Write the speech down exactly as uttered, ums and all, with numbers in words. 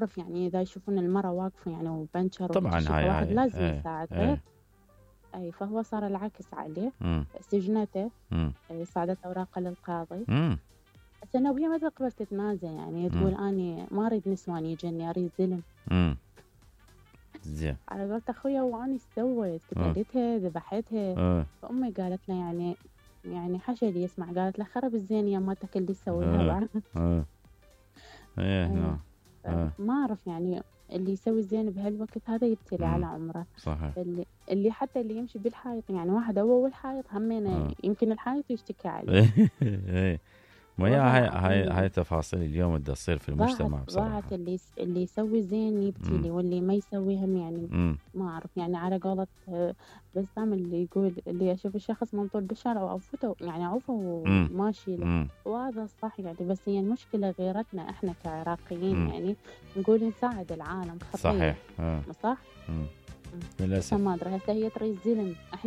اعرف يعني اذا يشوفون المرأة واقفة يعني وبنشر طبعا وكل شي هاي فواحد هاي لازم ايه يساعدها. ايه اي فهو صار العكس عليه، مم. سجنته، مم. إيه، صعدت اوراقه للقاضي. مم. هسه وهي ما تقبل تتنازل، يعني تقول مم. اني ما اريد نسوان يجني اريد زلم. مم. زين. على قولت اخويا واني ايش سويت؟ اه قتلتها ذبحتها. اه فامي قالت له يعني يعني حاشا اللي يسمع، قالت له خرب الزين يا مالتك اللي تسويها اه بعد. اه ايه إيه، نعم. اه ما اعرف يعني اللي يسوي الزين بهالوقت هذا يبتلي على مم. عمره. صحيح. اللي اللي حتى اللي يمشي بالحائط، يعني واحد هو والحائط همينه اه يمكن الحائط يشتكي عليه. ايه ايه ما هي والله هاي هاي العظيم هاي تفاصيل اليوم بدها تصير في ضاعت المجتمع ضاعت بصراحة. اللي يس- اللي يسوي زين مم. يبتلي، واللي ما يسوي هم يعني مم. ما أعرف. يعني على قولة آه، بسام اللي يقول اللي أشوف الشخص منطول بالشارع وأعوفه يعني أعوفه مم. وماشي له، مم. وهذا صح يعني. بس هي المشكلة غيرتنا إحنا كعراقيين، مم. يعني نقول نساعد العالم خطية. صحيح. اه صح؟ مم. مم. بس للأسف. ما أدري هسه هي تريد زلم.